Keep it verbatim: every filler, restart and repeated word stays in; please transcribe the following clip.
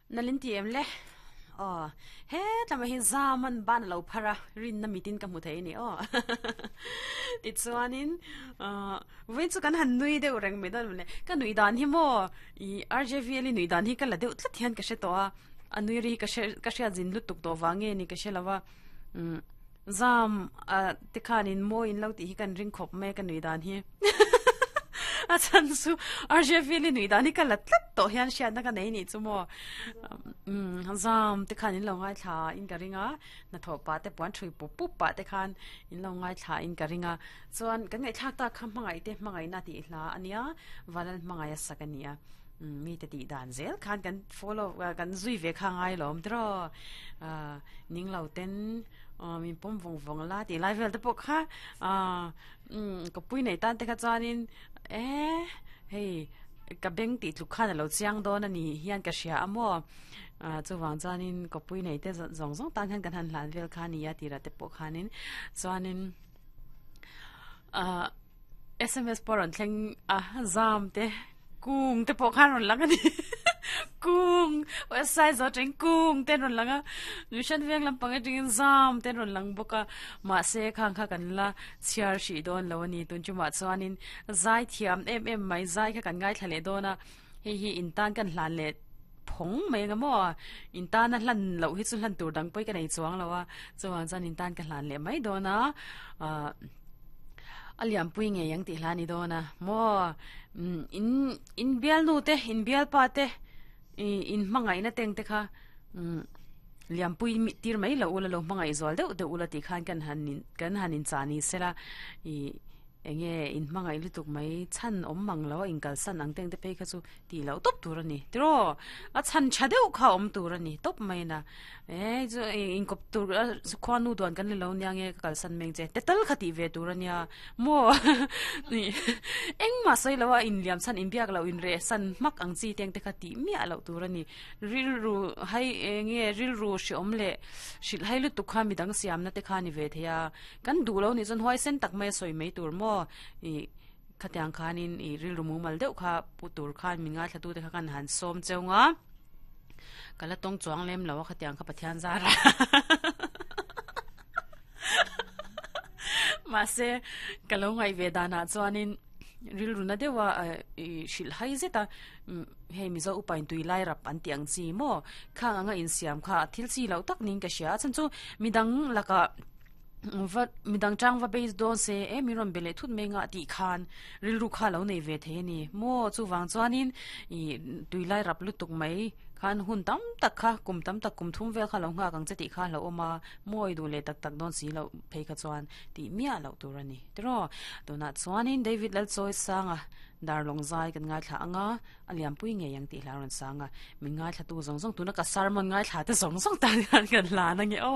Nalin ti em le aw he tlama hi zaman ban lo phara rin na mitin ka hmu thei ni aw ti chuanin vawiin chu kan han nui deuh reng mai dawn le ka nui dan hi maw i R J V li nui dan hi ka la deuh tlat hian ka hre tawh a a nui ri ka hre ka hriat zin lutuk tawh vang nge ni ka hre lova um zam a te khanin maw in lo tih hi kan ring khawp mai ka nui dan hi a chan chu R J V li nui dan hi ka la tlat tawh hian hriatna ka nei ni chu maw um zam te khan in lo ngai thla in ka ringa na tho pa te puan thui pup pup pa te khan in lo ngai thla in ka ringa chuan kan ngai thlak ta kha hmangai te hmangai na ti hla ania vanal hmangai a sak ania mi te ti dan zel khan kan follow kan zui ve kha ngai lom tro ning lo ten min pawm vawng vawng la ti lai vel te pawh kha ka pui nei tan te kha chuanin e hei ka beng ti tluk khan alo chiang dawn ani hian ka hria amaw chuwang chuanin ka pui nei te zawng zawng tan hian kan han hlan vel kha ania tira te pawh khanin chuanin S M S pawh rawn thleng a zam te kung te pawh khan rawn lang ani kung website zo teng kung ten rawn langa mission veng lampang atangin zam ten rawn lang bawk a mahse khang kha kan la chhiar hrih dawn lo ani tun chumah chuanin zai thiam em em mai zai kha kan ngai thla leh dawn a hei hi in tan kan hlan leh phawng mai nga maw in tan a hlan loh hi chu hlan tur dang pawh ka nei chuang lo a chuan chuan in tan ka hlan leh mai dawn a a liampui ngei ang tih hla ni dawn a maw in in bial nu te in bial pa te in hmangaih na teng te kha liampui tir mai lo ula lo hmangaih zual deuh deuh ula tih khan kan han kan han in cha ni sela i enge in hmangaih lutuk mai chan awm mang lo a in kalsan ang teng te phei kha chu ti lo top tur ani tiro a chan tha deuh kha awm tur ani top mai na e chu in kop tur khuanu duan kan le lo nia nge ka kalsan meng che te tal kha ti ve tur ania mo ni engma soi lo a in liam chan in biak lo in re san mak ang chi teng te kha ti mia lo tur ani rilru hai enge rilru hri awm le hril hai lutuk kha midang siam na te kha ni ve theia kan du lo ni chon huai sen tak mai soi mai tur mo i khatiang khanin i rilru mumal deuh kha pu tur khan mi ngai thlatu te kha kan han som cheunga kala tong chuang lem lo khatiang kha Pathian zara ma se kalo ngai ve dana chuanin rilru na dewa i hril hai zeta hei mizo upain tui lai rap an ti ang chi mo khang anga in siam kha thil chi lo tak ning ka hria chan chu midang laka va midang chang va base don se e mi ron bele thut me nga ti khan rilru kha lo nei ve the ni mo chu wang chuanin i tuilai rap lutuk mai khan hun tam tak kha kum tam tak kum thum vel kha lo nga kang che ti kha lo oma moi du le tak tak don si lo phei kha chuan ti mia lo tur ani tro tuna chuanin David Lal Choi sanga darlong zai kan ngai thla anga aliam pui nge yang ti hla ron sanga min ngai thla tu zong zong tuna ka sermon ngai thla te zong zong tan kan kan la na nge o.